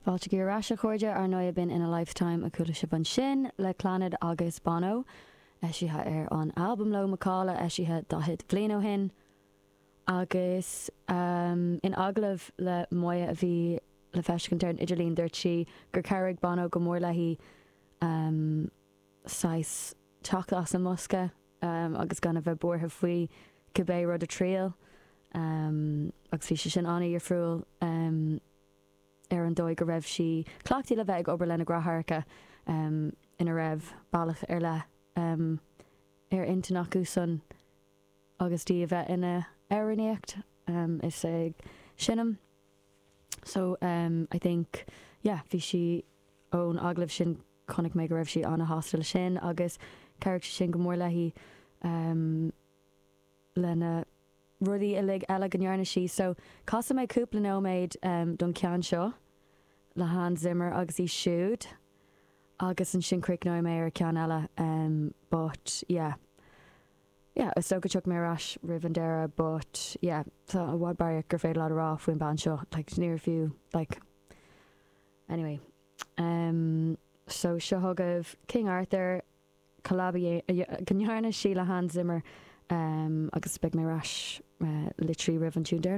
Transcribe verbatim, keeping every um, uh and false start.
Fáilte ar ais, a chairde. Ar ndóigh, b'in "In a Lifetime" a chuala sibh ansin le Clannad agus Bono, eisithe ar an albam Ló Macalla, eisithe daichead bliain ó shin. Agus um, in agallamh le Moya a bhí le feiscint ar an idirlíon, dúirt sí gur chabhraigh Bono go mór léi um, saghas teacht as an mbosca um, agus gan a bheith buartha faoi cibé rud a thriail um, agus bhí sé sin an-difriúil um, ar an dóigh go raibh sí cleachtaithe le bheith ag obair lena deartháireacha um, ina raibh bealach ar leith um, ar intinn acu san agus í a bheith ina amhránaíocht um, is ag seinm. So um, I think, yeah, bhí sí ón agallamh sin, chonaic mé go raibh sí an-shásta leis sin agus chabhraigh sé sin go mór léi um, lena rudaí uilig eile go ndearna sí. So casfaidh mé cúpla nóiméad um, don ceann seo le Hans Zimmer agus í siúd agus ansin críochnóidh mé ar ceann eile, um, but yeah. Yeah, is dócha go mbeidh mé ar ais roimh an deireadh, but yeah, tá i bhfad barraíocht gur féidir rá faoin bhean seo, like, níor fiú, like, anyway. Um, so seo chugaibh King Arthur, collab go ndearna sí le Hans Zimmer um, agus beidh mé ar ais uh, literally roimh an tune deireanach.